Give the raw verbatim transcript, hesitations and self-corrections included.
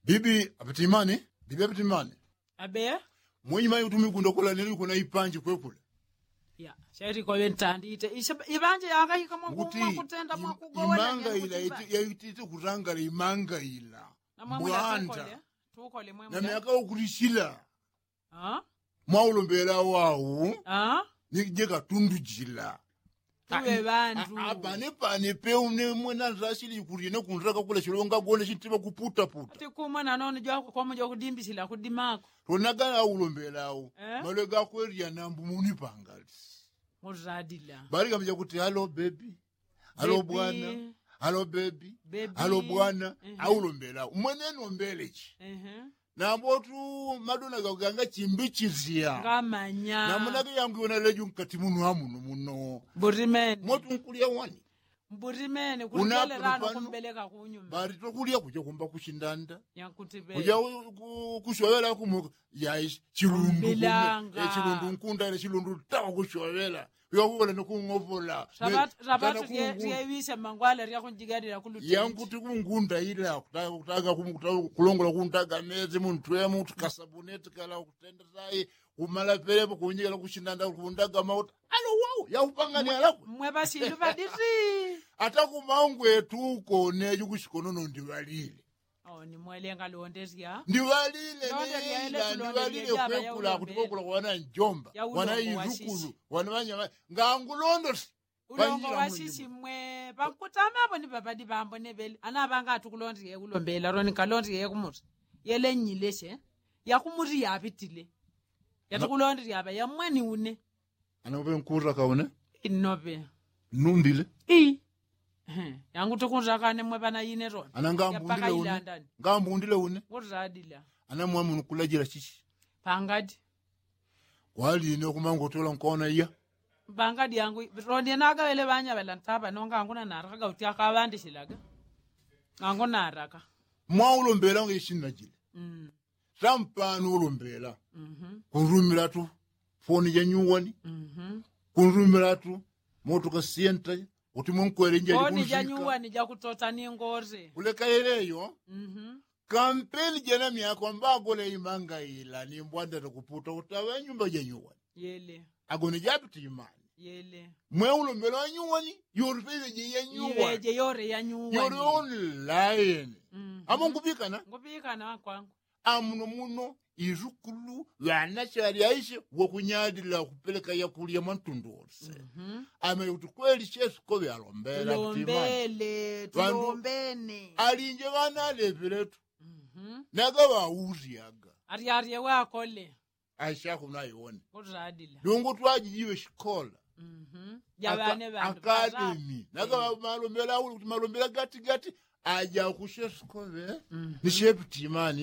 Bibi apitimani. Bibi apitimani. Abe. Mwenyi mayi utumikunda kula neli kuna ipanji kwekula. Ya shairiko wentandite ishe ibanje yanga ikamwa kutenda mwakugowa imanga ila yaitite kutangala imanga ila. Bwanda tukole mwe na myaka ukulishila. Mwaulombela wau. Nije katundu jila. Tuwe bandu. Apane pane pe une mwena nzashili ikulye ne kunzaka kula shilonga gone shintiba kuputaputa. Ati kumwe nanone jwako komo jwakudimbishila kudimako. Tonaga aulombela au malwe gakwelya nambu munipangali. Muzadila bali kamija kuti halo bebi. Halo bwana. Halo bebi. Halo bwana. Aulombela au mwene nombelechi. Nambo tu madona gaganga chimbichizya ngamanya. Namonake yangu yona leju nkati muno amuno muno. Mburimene mwetu nkulya wani. Mburimene kulikalelano kumbeleka kunyuma. Bali tokulya kuja kumba kushindanda. Kuja kushwawela kumuka. Yaishi chilundu. Chilundu nkunda ila chilundu tawa kushwawela. Yakukola nokung'opola. Rapatu ryewisha mangwala ryakunjigalila kuluteti. Yankuti kungunda ila kutaka kulongola kuntaga mezi muntwemu tukasabuneti kala kutenda sai. Kumala pelepo kunjigala kushindanda kundaga mauta. Alo wau yaupangani alakwe. Mwe pasindu paditi. Ata kumaungwe tuko neju kushikonono ndiwalile. Oni mwelenga londesya. Ndiwalile. Ndiwalile kwekula kuti kwekula kwana njomba wana izukulu wana wanyama. Ngangulondosi. Ulongo wasisi mwe pankutama apo ni papadi pambo nebele ana apanga atukulondile kulombela roni kalondile kumuti. Yele nyileshe yakumuti yapitile. Yatukulondile apa yamweni une. Anope nkuraka une. Inope. Nundile. Ii. Yangu tukunzakane mwe pana ine roni ana ngambundile une. Ngambundile une. Ngutadila. Ana mwamu nukulajila chichi. Pangadi. Kwaline kumangotola nkona iya. Pangadi yangu roni ana agawele ŵanya ŵalantapa nonga anguna naraka gauti akaŵandishilaga. Angunaraka. Mwaulombela nge ishinna jile. Tampano ulombela. Kunrumila tu foni ja nyuwani. Kunrumila tu moto kasienta. Kuti munkwele nje jikunsika. Foni ja nyuwani jakutota ni ngore kuleka yeleyo. Kampeni jena myako mbagola imanga ila ni mbwanda takuputa utaŵa nyumba ja nyuwani. Agone japita imani. Mwe ulombela wa nyuwani yorupele je ya nyuwani. Yore online. Amo ngupikana. Ngupikana wakwangu. Amuno muno izukulu ŵana shali aishe wakunyalila kupeleka yakulya mwantundu wose. Amene kuti kweli shesu koŵe alombela. Tulombele tulombene. Alinje ŵana alepeletu. Naga ŵauryaga. Aryarye wakole. Aishe akuno aiwone. Kutadila. Lungu twajijiwe shikola. Jaŵane ŵandu akademi naga ŵamalombela auli kuti malombela gatigati. Aja kushesu koŵe ni shepitimani.